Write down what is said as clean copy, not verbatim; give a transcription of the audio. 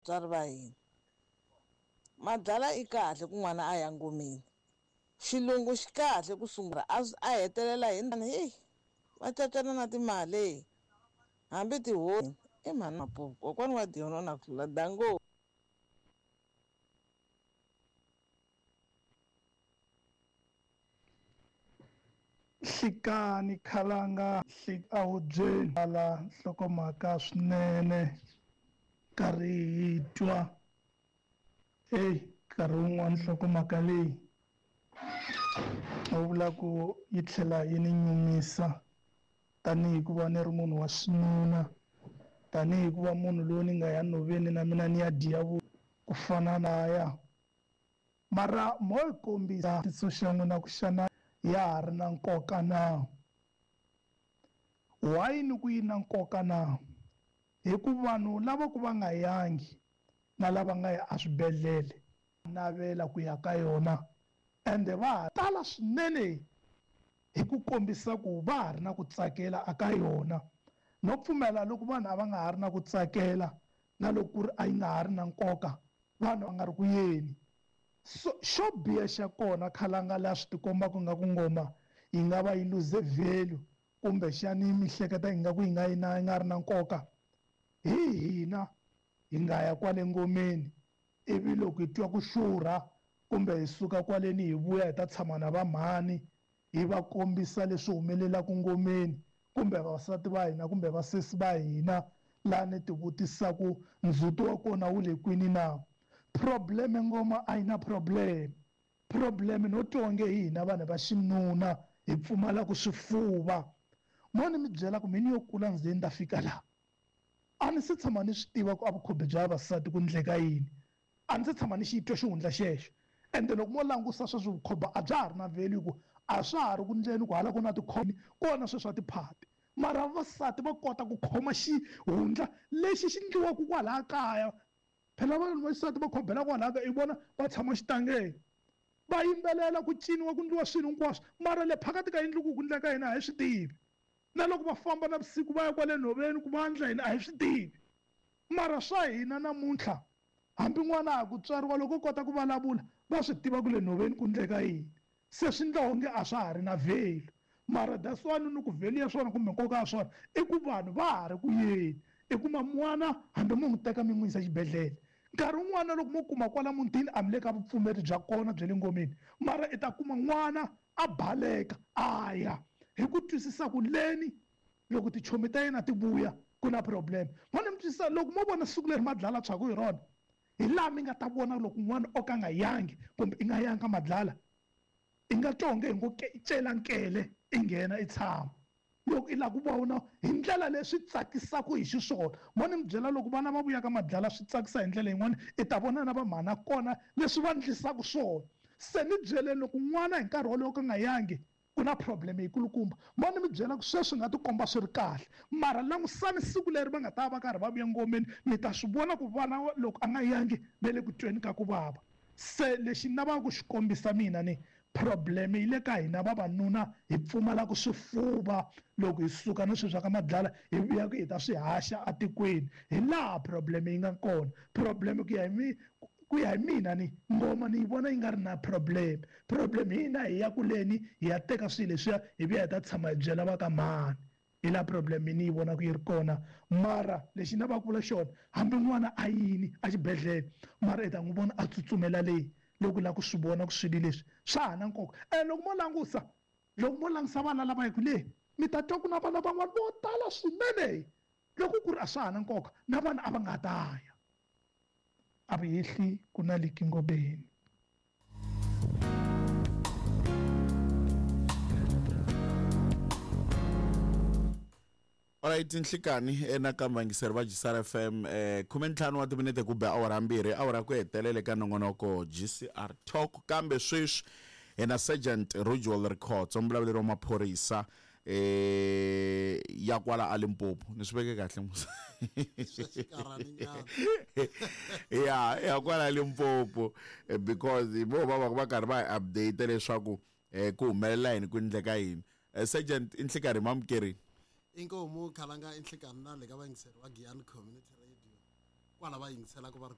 Vatswari va hina. Madlala i kahle ku n'wana a ya ngomeni. Xilungu xi kahle ku sungula a a hetelela hi heyi va cacana na timali hambi tihosi i mhani Mapupu kokwani wa Dion na ku hlula dango. Nhlikani khalanga ahubyeni ala nhlokomhaka swinene karhi hi twa heyi nkarhi wun'wani nhlokomhaka leyi u vula ku yi tlhela yi ni nyumisa tanihi ku va ni ri munhu wa xinuna tanihi ku va munhu loyi ni nga ya nhoveni na mina ni ya dya ku fana na ya. Mara mo yi kombisa xivutiso xa n'wina ku xana ya ha ri na nkoka na? Why ni ku yi na nkoka na? Hi ku vanhu lava ku va nga yangi na lava nga ya eswibedhlele navela ku ya ka yona ende va ha tala swinene hi ku kombisa ku va ha ri na ku tsakela aka yona. No pfumela loko vanhu a va nga ha ri na ku tsakela na loko ku ri a yi nga ha ri na nkoka vanhu va nga ri ku yeni. So xo biha xa kona khalanga laha swi tikombaka ingaku ngoma yi nga va yi lose value kumbexani mi hleketa ingaku yi nga yi na yi nga ri na nkoka hi hina hi nga ya kwale ngomeni ivi loko hi twa ku xurha kumbe hi suka kwaleni hi vuya hi ta tshama na va mhani hi va kombisa leswi humelelaka ngomeni kumbe vavasati va hina kumbe vasesi va hina laha ni ti vutisaku ndzhuti wa kona wu le kwini na. Problem ngoma a yi na problem. Problem no twa onge hi hina vanhu va xinuna hi pfumalaku swifuva. Mo ni mi byela ku mi ni yo kula ndzi ze ni ta fika laha a ni se tshama ni swi tiva ku a vukhombi bya vavasati ku ndleka yini. A ndzi se tshama ni xi twa xihundla xexo. Ende loko mo langusa sweswi vukhomba a bya ha ri na value ku a swa ha ri ku ndleni ku hala ku na tikhomba kona sweswi a tiphati. Mara vavasati va kota ku khoma xihundla lexi xi ndliwaka kwalaya kaya. Phela vanhu va xisati va khombela kwalaya ka i vona va tshama xitangeni. Va yimbelela ku ciniwa ku ndliwa swilo hinkwaswo mara le phakathi ka yindlu ku ku ndleka yini a hi swi tivi. Na loko va famba navusiku va ya kwale nhoveni ku va ndla yini a hi swi tivi. Mara swa hina namuntlha hambi n'wana a ha ku tswariwa loko o kota ku vulavula va swi tiva ku le nhoveni ku ndleka yini. Se swi ndla onge a swa ha ri na value. Mara that's why ni ku value ya swona kumbe nkoka wa swona i ku vanhu va ha ri ku yeni. I kuma n'wana hambi mo n'wi teka mi n'wi yisa exibedhlele nkarhi wun'wana loko mo kuma kwala mutini a mi le ka vupfumeri bya kona bya le ngomeni mara i ta kuma n'wana a baleka a ya hi ku twisisa ku leni loko tichomi ta yena ti vuya ku na problem. Mo ni mi twisisa loko mo vona siku leri madlala tshwaku hi rona hi laha mi nga ta vona loko n'wana o ka nga yangi kumbe i nga yanga madlala i nga twa onge hi ngo cela nkele i nghena i tshama loko i lava ku vona hi ndlela leyi swi tsakisaka hi xiswona. Mo ni mi byela loko vana va vuya ka madlala swi tsakisa hi ndlela yin'wana i ta vona na va mhana kona leswi va ndlisaka swona. Se ni byeleni loko n'wana hi nkarhi wolowo ka nga yangi ku na problem yikulukumba. Mo ni mi byela ku sweswi nga tikomba swi ri kahle mara langusani siku leri va nga ta va karhi va vuya ngomeni mi ta swi vona ku vana loko a nga yangi va le ku tweni ka ku vava. Se lexi ni lavaka ku xi kombisa mina ni problem yi le ka hina vavanuna hi pfumalaka swifuva loko hi suka na swilo swa ka madlala hi vuya ku hi ta swi haxa atikweni. Hi laha problem yi nga kona. Problem ku ya hi mi ku ya hi mina ni ngoma ni yi vona yi nga ri na problem. Problem hi hina hi ya kuleni hi ya teka swilo leswiya hi vuya hi ta tshama hi byela va ka mhani. Hi laha problem ni yi vonaka yi ri kona. Mara lexi ni lavaka ku vula xona hambi n'wana a yini exibedhlele mara i ta n'wi vona a tsutsumela leyi loko u lava ku swi vona ku swilo leswi swa ha na nkoka. Ene loko mo langusa loko mo langusa vana lava yaka le mi ta twa ku na vana van'wana vo tala swinene loko ku ri a swa ha na nkoka na vana a va nga ta ya. A va hehli ku na liki ngobeni. Alright nhlikani nakambe vayingiseri va GCR FM 15 wa timinete ku be awara mbirhi awara ku hetelela eka nongonoko GCR Talk kambe sweswi hi na Sergeant Rujwal Rikhotso muvulavuleri wa maphorisa eh ya kwala a Limpopo ni swi veke kahle musa ya ya kwala Limpopo because hi vo va va va karhi va hi update leswaku eh ku humelela yini ku endleka yini. Sergeant i nhlikarhi mamukerini. Inkomu khalanga i nhlikarhi na le ka vayingiseri va Giyani Community Radio. Kwala va yingiselaka va ri.